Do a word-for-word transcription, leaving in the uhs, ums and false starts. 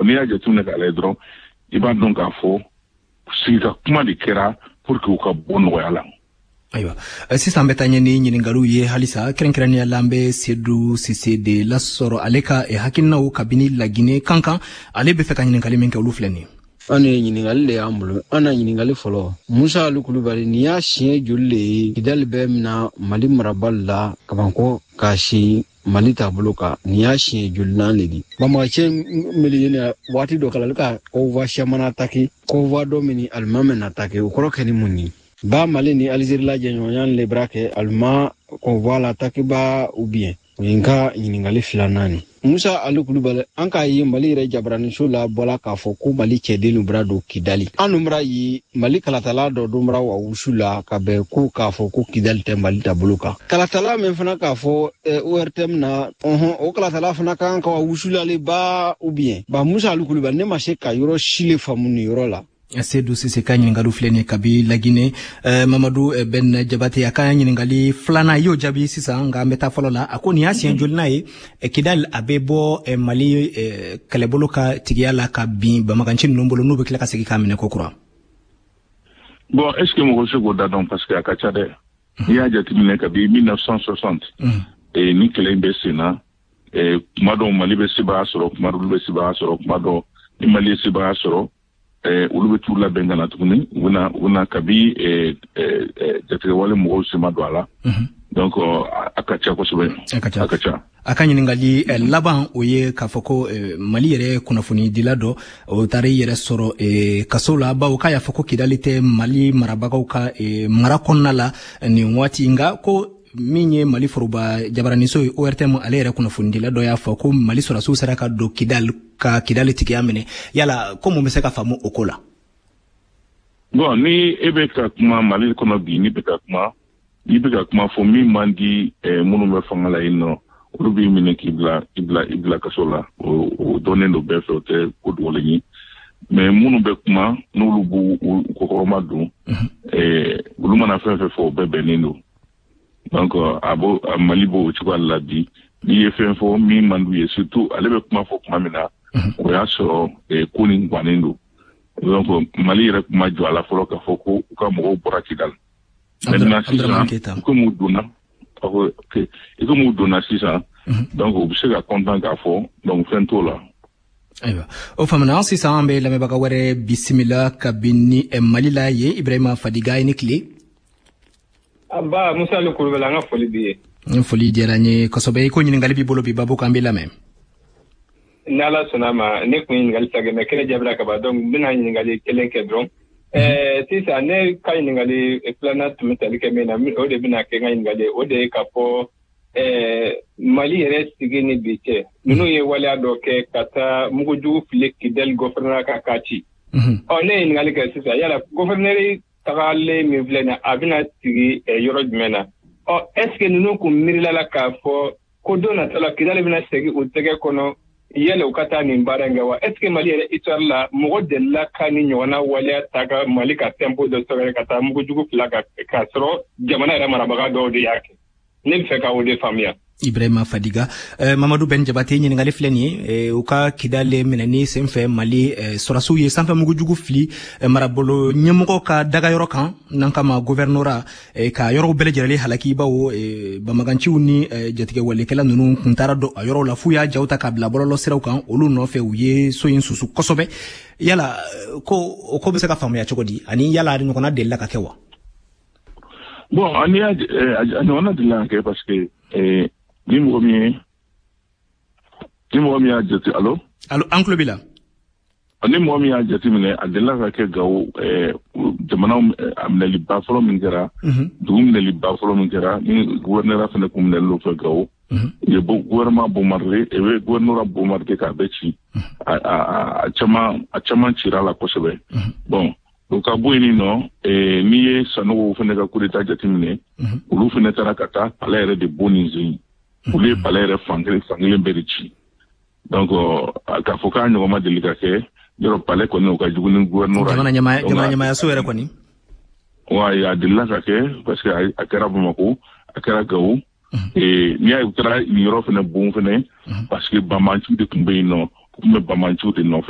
N'i y'a jateminɛ k'a lajɛ dɔrɔn, i b'a dɔn k'a fɔ sigi ka kuma de kɛra pour que u ka bɔ nɔgɔya la. Ayiwa, sisan bɛ taa ɲɛ ni ɲininkaliw ye halisa. Kɛrɛnkɛrɛnnenya la, an bɛ Sedu Sise de lasɔrɔ, ale ka hakilinaw kabini Lagine kan kan. Ale bɛ fɛ ka ɲininkali min kɛ, olu filɛ nin. An ye ɲininkali de y'an bolo. An na ɲininkali fɔlɔ, Musa Ali Kulubali, nin y'a siɲɛ joli le ye Kidali bɛ mina Mali marabali la kabankɔ k'a si Mali taabolo kan? Nin y'a siɲɛ jolinan le di? Banbagacɛ mili ye waati dɔ kala, ale ka convoi siaman attaqué, convoi dɔ min alimami na attaqué, o kɔrɔ kɛ ni mun ye? Ba Mali ni Alizeri la jɛɲɔgɔnya le bara kɛ alima convoi la attaqué ba ou bien? O ye n ka ɲininkali filanan ni. Musa Ali Kulubali, an k'a ye Mali yɛrɛ jabaraniso la bɔla k'a fɔ ko Mali cɛden bara don Kidali. An dun bara ye Mali kalatala dɔ dun bara wa wusu la ka bɛn ko k'a fɔ ko Kidali tɛ Mali taabolo kan. Kalatala min fana k'a fɔ O R T M na ɔhɔn, o kalatala fana ka kan ka wa wusulale ba ou bien? Ba Musa Ali Kulubali, ne ma se ka yɔrɔ si le faamu nin yɔrɔ la. Sedu Sise ka ɲininkali filɛ nin kabi Lagine. eh, mamadu Ben Jabate, a ka ɲininkali filanan, i y'o jaabi sisan, nka an bɛ taa fɔlɔ la. A ko nin y'a siɲɛ jolina ye Kidal a bɛ bɔ Mali kɛlɛbolo ka tigiya la ka bin bamaganci ninnu bolo, n'u bɛ tila ka segin k'a minɛ ko kura? Bon, est ce que mɔgɔ bɛ se k'o da dɔn? Parce que a ka ca dɛ. N'i y'a jateminɛ, kabi mille neuf cent soixante ni kɛlɛ in bɛ sen na, kuma dɔw Mali bɛ sebaaya sɔrɔ, kuma dɔw olu bɛ sebaaya sɔrɔ. Kuma dɔw ni Mali ye sebaaya sɔrɔ, olu bɛ t'u labɛn ka na tuguni. U bɛna u bɛna kabi jatigɛwale mɔgɔw sema don a la. Donc a ka ca kosɛbɛ. A ka ca. A ka ca. A ka ɲininkali laban, o ye k'a fɔ ko Mali yɛrɛ kunnafonidila dɔ, o taara i yɛrɛ sɔrɔ kaso la, bawo k'a y'a fɔ ko Kidali tɛ Mali marabagaw ka mara kɔnɔna la nin waati. Nka ko min ye Mali foroba jabaraniso ye O R T M, ale yɛrɛ kunnafonidila dɔ y'a fɔ ko Mali sɔrɔdasiw sera ka don Kidali ka Kidali tigiya minɛ. Yala ko mun bɛ se ka faamu o ko la? Bon, ni e bɛ ka kuma Mali kɔnɔ bi, n'i bɛ ka kuma n'i bɛ ka kuma fɔ min man di minnu bɛ fanga la yen nɔ, olu b'i minɛ k'i bila i bila i bila kaso la. o o dɔnnen don bɛɛ fɛ, o tɛ ko dogolen ye. Mais minnu bɛ kuma, n'olu b'u u kɔkɔrɔma don, olu mana fɛn fɛn fɔ, o bɛɛ bɛnnen don. Donc a b'o Mali b'o cogoya la bi. N'i ye fɛn fɔ min man d'u ye, surtout ale bɛ kuma fɔ tuma min na, o y'a sɔrɔ ko nin gannen don. Donc Mali yɛrɛ kuma jɔ a la fɔlɔ k'a fɔ ko u ka mɔgɔw bɔra Kidali. Maintenant sisan, komi u donna, i komi u donna sisan, donc u bɛ se ka content k'a fɔ, donc fɛn t'o la. Ayiwa, o faamuna. Sisan an bɛ lamɛnbaga wɛrɛ bisimila kabini Mali la ye, Ibrahima Fadiga, i ni tile. Aba Musa Ali Kulubali, an ka foli b'i ye. N foli diyara n ye kosɛbɛ. I ko ɲininkali b'i bolo bi babu kan, an b'i lamɛn. Ni Ala sɔnna ma, ne kun ye ɲininkali ta kɛ, mais kelen jaabira ka ban, donc n bɛna ɲininkali kelen kɛ dɔrɔn. ɛɛ sisan ne ka ɲininkali filanan tun bɛ tali kɛ min na, o de bɛna kɛ n ka ɲininkali ye. O de ye k'a fɔ ɛɛ Mali yɛrɛ sigi ni bi cɛ, ninnu ye waleya dɔ kɛ ka taa mugujugu fili Kidali gouvernement ka k'a ci. Ɔ, ne ye ɲininkali kɛ sisan, yala gouverneur tagalen min filɛ nin, a bɛna sigi yɔrɔ jumɛn na? Ɔ, est ce que ninnu kun miirila la k'a fɔ ko don nata la Kidali bɛna segin u tɛgɛ kɔnɔ, yala u ka taa nin baara in kɛ wa? Est ce que Mali yɛrɛ histoire la, mɔgɔ delila ka ni ɲɔgɔnna waleya ta ka Mali ka tempo dɔ sɛgɛrɛ ka taa mugujugu fila ka k'a sɔrɔ jamana yɛrɛ marabaga dɔw de y'a kɛ? Ne bɛ fɛ ka o de faamuya. Ibrahima Fadiga. eh, mamadu Ben Jabate, ɲininkali filɛ nin ye. eh, u ka Kidale minɛni senfɛ, Mali eh, sɔrɔdasiw ye sanfɛ mugujugu fili eh, marabolo ɲɛmɔgɔ ka dagayɔrɔ kan, n'an kama gouvernorat, eh, ka yɔrɔw bɛɛ lajɛlen halaki, bawo eh, bamaganciw ni eh, jatigɛwalekɛla ninnu kun taara don a yɔrɔw la f'u y'a jaw ta k'a bila bɔlɔlɔ siraw kan olu nɔfɛ. U ye so in susu kosɛbɛ. Yala ko o ko bɛ se ka faamuya cogo di, ani yala a ɲɔgɔnna delila ka kɛ wa? Bon, ani y'a a ɲɔgɔnna delila ka kɛ, parce que eh, ni mɔgɔ min ye ni mɔgɔ min y'a jate, allo? Allo, an tulo b'i la. Ni mɔgɔ min y'a jateminɛ, a delila ka kɛ Gawo. Jamana a minɛliba fɔlɔ min kɛra, dugu minɛliba fɔlɔ min kɛra, ni gouverneur fana kun minɛli l'o fɛ Gawo, u ye gouvernement bombardé, u ye gouvernorat bombardé k'a bɛɛ ci. a a caman a caman cira la kosɛbɛ. Bon, o ka bɔ yen nɔ, n'i ye Sanogo fana ka coup d'état jateminɛ, olu fana taara ka taa palais yɛrɛ de bon nin sen. Olu ye palais yɛrɛ fankelen fankelen bɛɛ de ci. Donc k'a fɔ k'a ɲɔgɔn ma deli ka kɛ yɔrɔ, palais kɔni, o ka jugu ni gouvernorat. Jamana ɲɛmaaya, jamana ɲɛmaayaso yɛrɛ kɔni. Wa a delila ka kɛ, parce que a kɛra Bamako, a kɛra Gawo. N'i y'a ye u taara nin yɔrɔ fana bon fana, parce que banbanciw de tun bɛ yen nɔ, u tun bɛ banbanciw de nɔfɛ.